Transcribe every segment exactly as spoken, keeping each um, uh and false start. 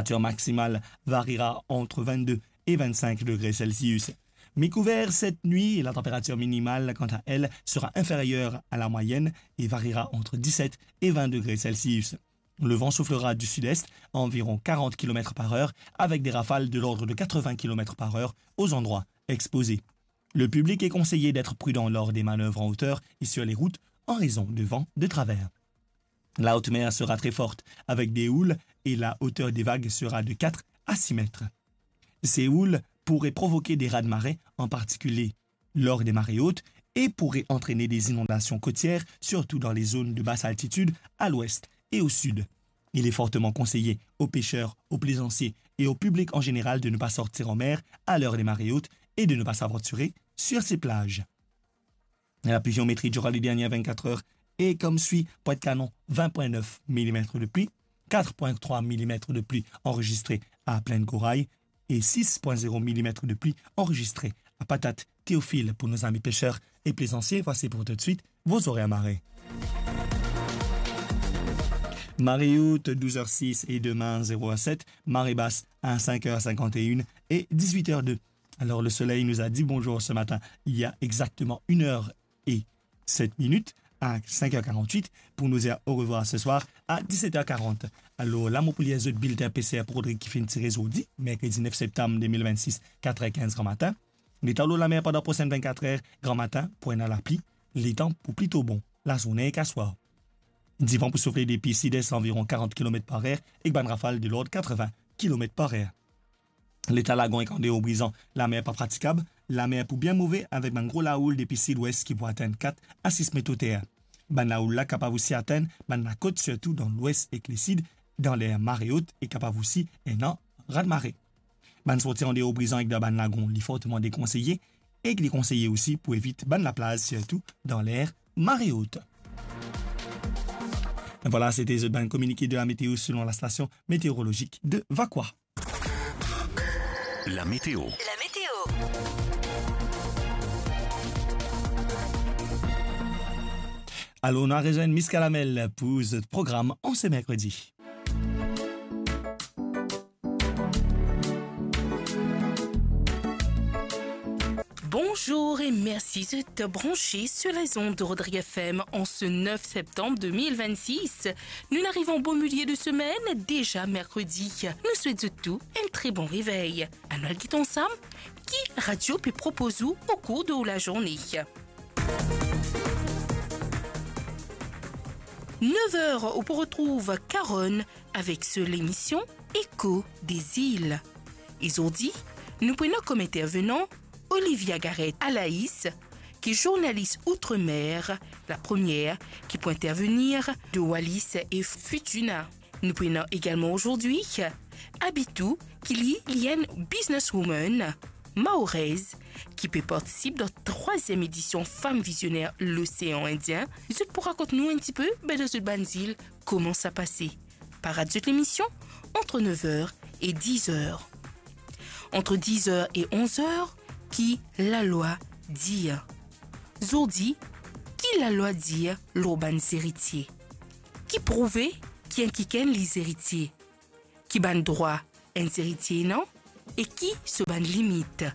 Température maximale variera entre vingt-deux et vingt-cinq degrés Celsius. Mi-kouver cette nuit, la température minimale, quant à elle, sera inférieure à la moyenne et variera entre dix-sept et vingt degrés Celsius. Le vent soufflera du sud-est à environ quarante kilomètres par heure, avec des rafales de l'ordre de quatre-vingts kilomètres par heure aux endroits exposés. Le public est conseillé d'être prudent lors des manœuvres en hauteur et sur les routes en raison de vents de travers. La haute mer sera très forte, avec des houles, et la hauteur des vagues sera de quatre à six mètres. Ces houles pourraient provoquer des raz-de-marée, en particulier lors des marées hautes, et pourraient entraîner des inondations côtières, surtout dans les zones de basse altitude, à l'ouest et au sud. Il est fortement conseillé aux pêcheurs, aux plaisanciers et au public en général de ne pas sortir en mer à l'heure des marées hautes et de ne pas s'aventurer sur ces plages. La pluviométrie durant les dernières vingt-quatre heures est comme suit : Pointe-Canon, vingt point neuf millimètres de pluie, quatre point trois millimètres de pluie enregistrée à Plaine-Corail et six point zéro millimètres de pluie enregistrée à Patate-Théophile. Pour nos amis pêcheurs et plaisanciers, voici pour tout de suite vos horaires marée. Marée haute, douze heures six et demain, zéro heure sept. Marée basse, à cinq heures cinquante et une et dix-huit heures deux. Alors, le soleil nous a dit bonjour ce matin, il y a exactement une heure et sept minutes, à cinq heures quarante-huit, pour nous dire au revoir ce soir à dix-sept heures quarante. Alors, la mo pou lir zot bilten PCR pou Rodrig ki finn tire zordi, merkredi nef septam de mil vennsis, kat er kinz gramatin. Leta lor lamer pandan prosenn vennkat er gramatin pou ena lapli, letan pou plito bon, lazourne ek aswar. Divan pou soufle depi sid-es anviron karant kilomet par er ek bann rafal de lord katrevin kilomet par er. Leta lagon ek andeor Brizan, lamer pa pratikab, lamer pou bien move avek bann gro laoul depi sid-wes ki pou atenn kat a sis met oter. Bann laoul la kapav osi atenn bann lakot, sirtou dan lwes ek lesid, dan ler mare ot e kapav osi ena raz-de-mare. Bann sorti andeor Brizan ek dan bann lagon, li forteman dekonseye, ek li konseye osi pou evit bann laplaz, sirtou dan ler mare ot. Vwala, sete zot bann kominike de la meteo selon la station météorologique de Vacoas. La météo. La météo. Alor, nou al rezwenn Miss Kalamel pou zot program an se merkredi. Bonjour et merci d'être branchés sur les ondes de Rodrigue F M en ce neuf septembre deux mille vingt-six. Nou ariv an bon milieu de semaine, déjà mercredi. Nou swet zot tou enn tre bon revey. Anou al get ansam ki radio pe propoz ou au cours de la journée. Neuf heures, ou pou retrouv Caronne avec so lemision Écho des îles. E zordi, nou pou ena kom intervenan Olivia Gareth Alaïs, ki journalis Outre-mer, la première ki pou intervenir de Wallis et Futuna. Nou pou ena egalman zordi Abitou, ki li, li enn businesswoman maorez, ki pe partisip dan trwaziem edision Femme Visionnaire L'Océan Indien. Zot pou rakont nou enn tipe, be, dan zot bann zil, kouma sa pase. Parad zot lemision ant nev er e diz er. Ant diz er e onz er, ki lalwa dir? Zordi, ki lalwa dir lor bann zeritie? Ki prouve ki enn kikenn li zeritie? Ki bann drwa enn zeritie ena e ki so bann limit?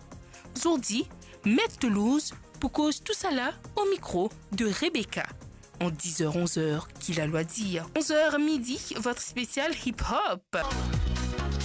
Zordi, Met Toulouse pou koz tousala o mikro de Rebecca. Ant diz er, onz er, ki lalwa dir? Onz er midi, votre spécial hip-hop.